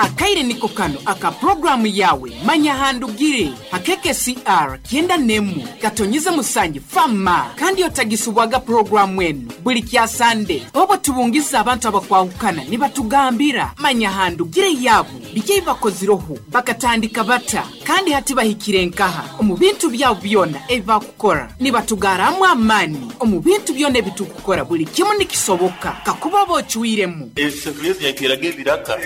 Akaire niko kano aka puroguramu yawe Manya Handugire ha KKCR 91 katonyize musangi fama, kandi otagisubwaga puroguramu enu buli kya Sande obo tubungiza abantu abakwahukana nibatugambira Manya Handugire yabo biki ebibakozireho, bakatandika bata, kandi hati bahikire nkaha omu bintu byabo byona ebi bakukora. Nibatugaramu amaani omu bintu byona ebi tukukora, buli kimu nikisoboka kakuba oba ocwiremu. Esefuriya ezi nyateeraga ebiraka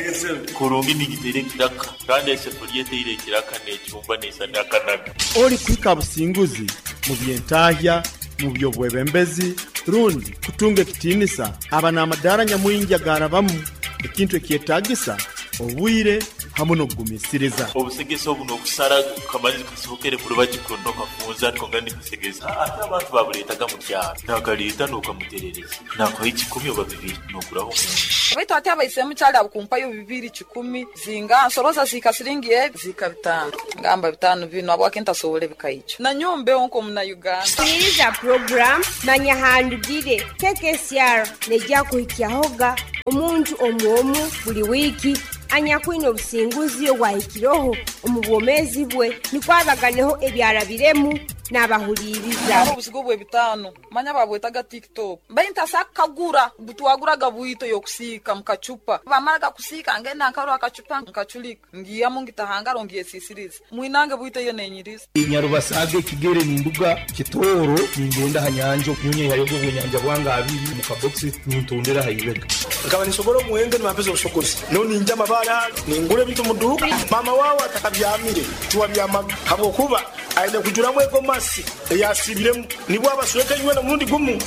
kurungi ningiteera ekiraka, kandi esefuriya eteire ekiraka n'ecumba neisana akanaga. Ori kuhika ha businguzi mu by'entahya, mu by'obwebembezi, rundi kutunga ekitiinisa aba n'amadaara nyamwingi agaarabamu, ekintu ekyetaagisa obwire hamu n'okugumiisiriza. Obusegesa obu n'okusara kamanyizi kasohokere kurubaju kuno kafunza ariko nga nikasegesa. Ate abantu babuleetaga mu kyaro nakaleeta n'okamuterereza nakuha ekikumi oba bibiri n'oguraho omunju. Baitu hati abaisemu kyali abukumpayo bibiri kikumi zinga nsoroza zika siringi ebi zika 5 ngamba 5 bino habwaki ntasobole bikaija na nyombeho nko muna Uganda. Sikiliza program Manya Handugire KKCR nejja kuhikyahoga omuntu omu buli wiki anyakwine obusinguzi obwahikireho omu bwomezi bwe nikwabaganeho ebyarabiremu n'abahuliriza. Obusigo bwe 5 manya babwetaga TikTok baintasa kagura butwaguraga bwito yokusiika mukachupa bamaraga kusiika ngenda nkarwa akachupa nkachulika ngiyamu ngitahangaro ngiyesisiriza mwinange bwito iyo nenyiriza. Inyarubasaga ekigere ninduga kitoro ningenda hanyanja nyonye yayogo bwenyanja bwanga abiri mu kabox nintondera hayibega nkaba nisobora omuhendo nibampeza obusogozi no ninja amabara ningura ebintu mu duka mama wawe atakabyamire tiwabyamaga habwokuba aine kujuramu egomasi eyasibiremu nibwo abasweka inywe nomurundi gumu.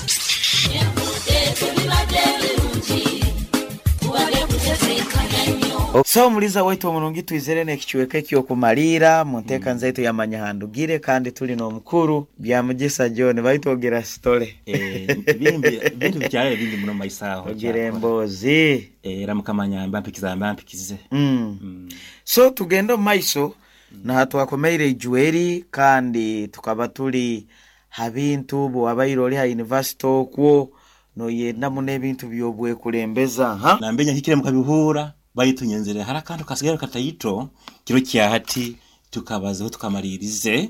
So omuliza waitu omurungi twizere n'ekichweka ekyokumalira mu nteeka nzaitu yamanya handugire, kandi tuli n'omukuru Byamugisa John baitu ogira sitole. Bintu bikyalere bingi muno maisaho. Ogira emboozi. Era mukama nyamba mpikiza mba mpikize. So tugende omu maiso naha twakomeire ijweri, kandi tukaba tuli ha bintu bwabaire oli ha university okwo noyenda muno ebintu by'obwekulembeza ha nambenya hikire mukabihura baitu nyenzere hari akantu kasigaire kataito kiro kya hati tukabazeho tukamalirize.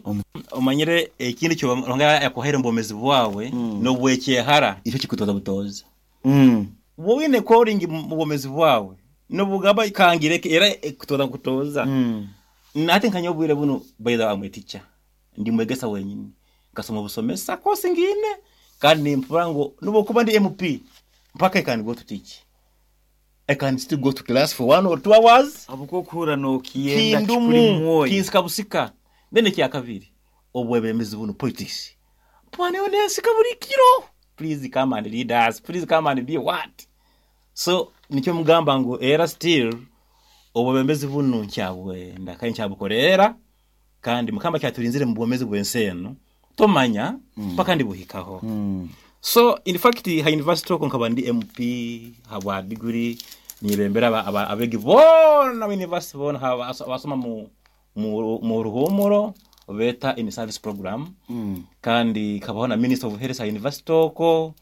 Omanyire ekindi kyo Ruhanga yakuhaire omu bwomezi bwawe n'obwekyehara ikyo kikutoza butoza. Wowe calling mu bwomezi bwawe nobugaba ikangire era ekutoza kutoza. Nate nkanya obwire buno by the way teacher ndi mwegesa wenyini kasoma busomesa kosi ngine kandi nimpura ngo nubo kuba ndi MP mpaka I can go to teach. I can still go to class for 1 or 2 hours. Abuko kuhura no kiyenda kindumu kikuri mwoyo. Kinsika busika. Then kya kabiri obwebembezi buno politics. Pwane onensika buli kiro. Please come and lead us. Please come and be what? So nikyo mugamba ngo era still obwebembezi buno nkyabwenda kandi nkyabukorera kandi mukama kyaturinzire mu bwomezi bwensi eno tomanya paka ndibuhikaho. So in fact ha university oko nkaba ndi MP habwa degree nibembera abegi bona university bona abasoma mu ruhumuro beta in service program. Kandi kabaho na Minister of Health ha university oko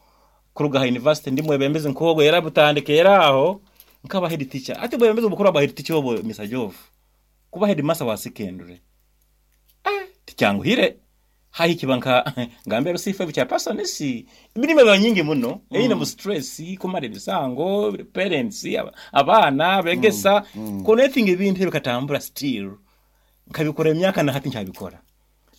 kuruga ha university ndi mwebembezi nkogo era butandike era aho nkaba head teacher. Ati bwebembezi bukuru aba head teacher obo Mr. Jov kuba head master wa secondary tikyanguhire hahi kibanka ngambe rusifa bya person si imirimo iba nyingi muno eyine mu stress kumara ibisango parents abana begesa connecting ibintu bikatambura still nkabikora imyaka na hati ncyabikora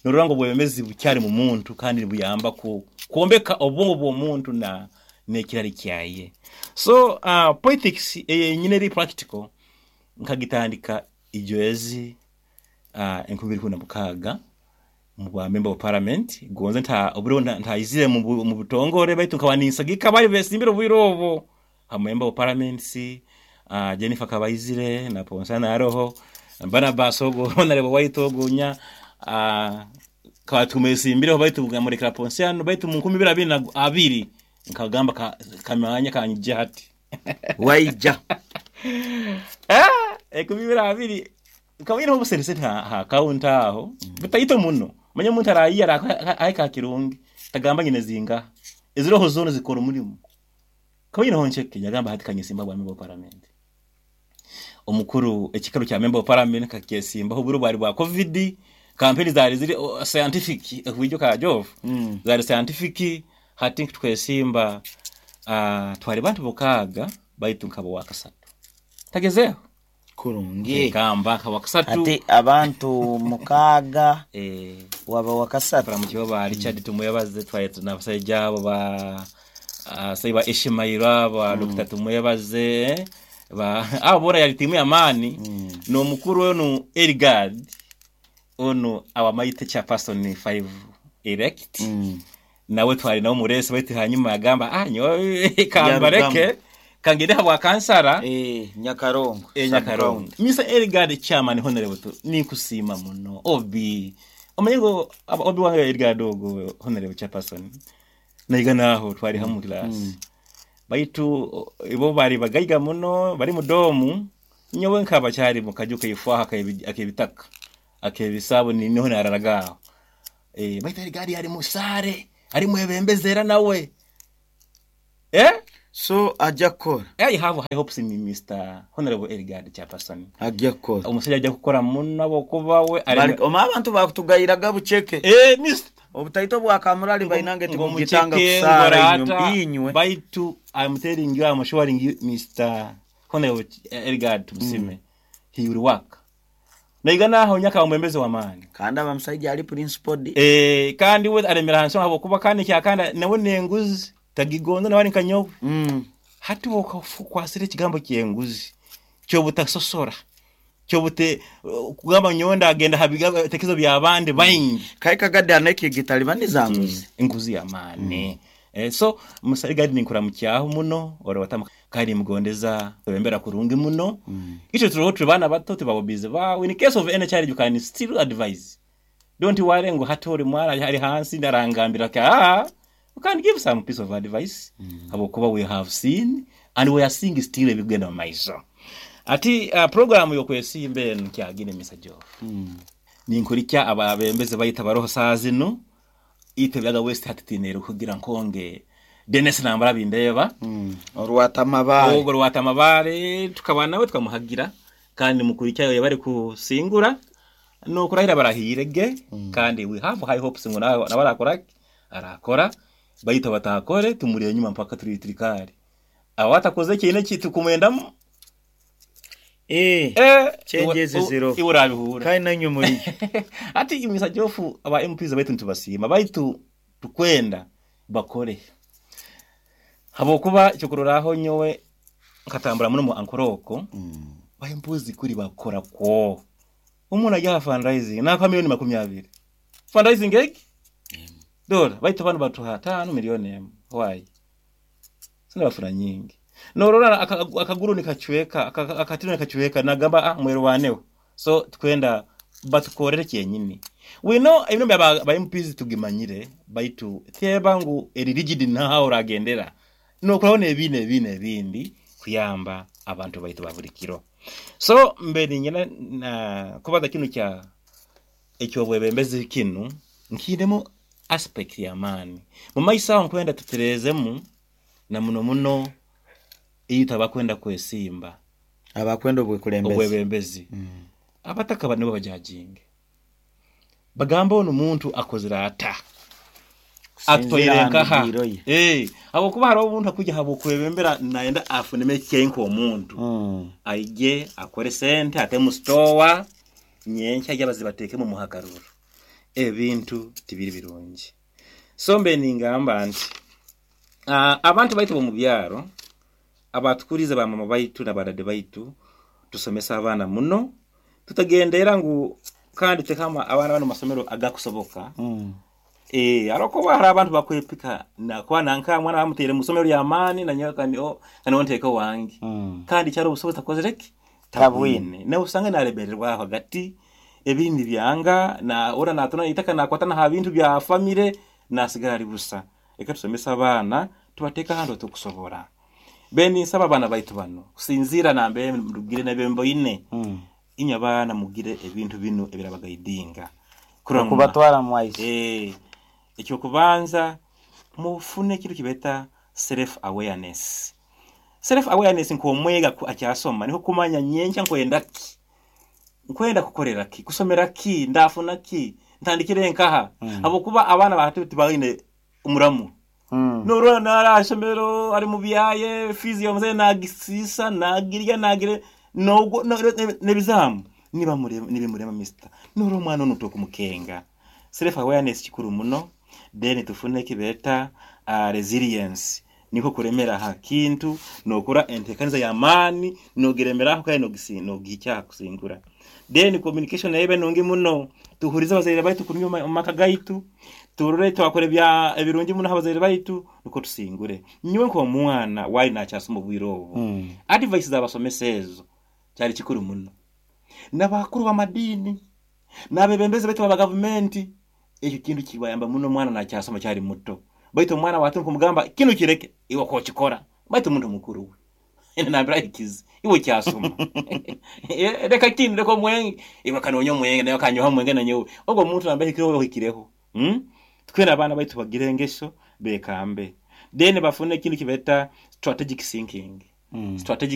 norora ngo bwemezi bucyari mu muntu kandi buyamba ku kuombeka obwongo bw'omuntu na nekirari kyaye. So politics nyine ri practical nkagitandika ijoezi 2016 mu bwa member of parliament gonze nta oburo ntayizire mu butongore baitu nkaba ninsagika bari besimbira obwirobo ha member of parliament si Jennifer Kabayizire na Ponsana Aroho bana basogo honorable Waitogunya katumesimbira baitu ngamureka Ponsiano baitu mu 2022 nkagamba kamanya kanyije hati waija 2022 kawina obuserese ha counter aho bitayito muno manya muntu arayiya aika kirungi tagamba nyine zinga eziroho zone zikora umurimo kawina honcheke yagamba hati kanyisimba bwa member parliament. Omukuru ekikaro kya member of parliament nkakyesimbaho obwire bwali bwa covid, campaign zali ziri scientific okwijuka Jove, zali scientific. Hati tukwesimba twali bantu bukaaga baitu nkaba wa kasatu. Tagezeho. Kurungi. Kamba nkaba wa kasatu. Hati abantu mukaaga waba wa kasatu. Baramukiwe ba Richard Tumwebaze, twali n'abasajja abo ba Saiba Ishimaira, ba Dr. Tumwebaze, ba abo bora yali timu y'amaani. N'omukuru onu Erigard onu our mighty chairperson 5 elect. Nawe twali nawe muresi baitu hanyuma yagamba nyowe kambareke kangende habwa kansara Nyakarongo. Nyakarongo. Mr. Erigard chairman honorable nikusima muno obi omanyi obi wange Erigard ogo honorable chairperson naiga naho twali hamwe class. Baitu ibo bari bagaiga muno bari mudomu nyowe nkaba cyari mu kajuka ifwaha akebitaka akebisabo ni niho nararagaho. Baitu Erigard yari musare ari mwebembezera nawe. So ajja kukora. I have high hopes in Mr. Honorable Erigard chairperson. Ajja kukora. Omusajja ajja kukora muno abokuba we oma abantu bakutugayiraga bucheke. Mr. Obutaito bwa kamurali bainange timugitanga kusara inywe. Baitu I'm telling you, I'm assuring you Mr. Honorable Erigard Tumusime. He will work. Naigana aho nyaka omwembezi wa maani. Kandi abamusajja ali principal. Kandi we alemera hansi abo kuba kandi kyakanda nawe nenguzi tagigonza nawali nkanyowe. Hati wokwasira ekigambo kyenguzi kyobutasosora kyobute kugamba nyonda agenda habiga tekezo bya bandi baingi. Kai kagade aneke gitalibani zanguzi. Enguzi ya maani. So musaiga ninkura mukyaho muno orowata kandi mugondeza bembera kurungi muno. Icho turoho tubana bato tubabobize ba in case of any challenge you can still advise. Don't worry ngo hatori mwana ari hansi ndarangambira ka you can give some piece of advice. Abokuba we have seen and we are seeing still ebigenda maiso. Ati program yo kwesimbe nkyagine Mr. Joe. Ninkurikya ababembeze bayita baroho saazino ite byaga West hatitinero kugira nkonge Dennis nambara bindeba. Orwata mabare. Ogo rwata mabare tukabana nawe tukamuhagira kandi mukurikya yabari kusingura no kurahira barahirege. Kandi we have high hopes ngo nawe arakora arakora bayita batakore tumuriye nyuma mpaka turi trikari awatakoze kintu kitukumwendamo changes zero iburabihura kandi nanyu muri ati imisa jofu aba MPs baitu ntubasima baitu tukwenda bakore habokuba cyokuroraho nyowe nkatambura muno mu ankoroko ba MPs kuri bakora ko umuntu ajya fundraising na kwa milioni 20 fundraising egi dola baitu abantu batuha 5 milioni why sina bafura nyingi norora akaguru nikachweka akatino nikachweka nagamba mwero waneho so tukwenda batukorere kyenyini we know ibintu bya ba MPs tugimanyire baitu tebangu eri rigid naho uragendera no kurabona ebine ebine ebindi kuyamba abantu baitu babulikiro. So mbere nyina na kubaza kinu kya ekyo bwebembezi kinu nkindemo aspect ya mani mu maisa nkwenda tuterezemu na muno muno iyo abakwenda kwesimba abakwenda obwebembezi abataka bano bajajinge bagamba ono muntu akozera ata atoirenka ha abo kuba hari omuntu akujya habo kwebembera naenda afuneme kyenko omuntu aije akore sente ate mu store nyencha yabazibateke mu muhagaruro ebintu tibiri birungi. So mbe ningamba nti abantu baitu bo mu byaro abatukurize ba mama baitu na badade baitu tusomesa abana muno tutagendera ngu kandi tekama abana bano masomero agakusoboka. Aroko hari abantu bakwepika na kwa nanka mwana bamutere musomero ya mani na nyoka ni kana wonteka wangi. Kandi cyaro ubusobozi takozereki tabwine na usanga narebererwa hagati ebindi byanga na ora natona itaka nakwatana ha bintu bya family nasigara ari busa. Eka tusomesa abana tubateka hando tukusobora beni nsaba abana baitu bano kusinzira nambe mugire nabembo ine. Inya bana mugire ebintu bino ebirabagaidinga kubatwara mwaisi. Ekyo kubanza mufune kintu kibeta self awareness. Self awareness nk'omwega akyasoma niho kumanya nyenkya nkwenda ki, nkwenda kukorera ki, kusomera ki, ndafuna ki, ntandikire nkaha. Habwokuba abaana bahati tibaine omuramu. Norora nara aha ishomero ari mu byaye, fiizi y'omuzaire nagisiisa, nagirya, nagire n'ogwo n'ebizaamu nibimurema mister. Norora omwana onu tokumukenga. Self awareness kikuru muno, then tufune eki beeta resilience, nikwo kuremera ha kintu nokora enteekaniza y'amaani nogiremeraho kandi nogihikya aha kusingura. Then communication nayo ebe nungi muno, tuhurize abazaire baitu kurungi omu maka gaitu, turore twakora ebirungi muno ha bazaire baitu nukwo tusingure. Nyowe nk'omwana waali nakyasoma obwire obu, advice z'abasomesa ezo kyali kikuru muno. N'abakuru b'amadiini, n'abebembezi baitu aba gavumenti, ekyo kintu kibayamba muno omwana nakyasoma akyali muto. Baitu omwana waati kumugamba kinu kireke, iwe okokikora. Baitu omuntu mukuru we nambere ahikize, iwe okyasoma. Reka kinu, reka omwenge, iwe kanoonya omwenge, nawe kanyoha omwenge nanyowe. Ogwo omuntu nambere ahikireho ohikireho. Twena abaana baitu bagire engeso bekambe. Then bafune ekintu kibeeta strategic thinking. Strategic.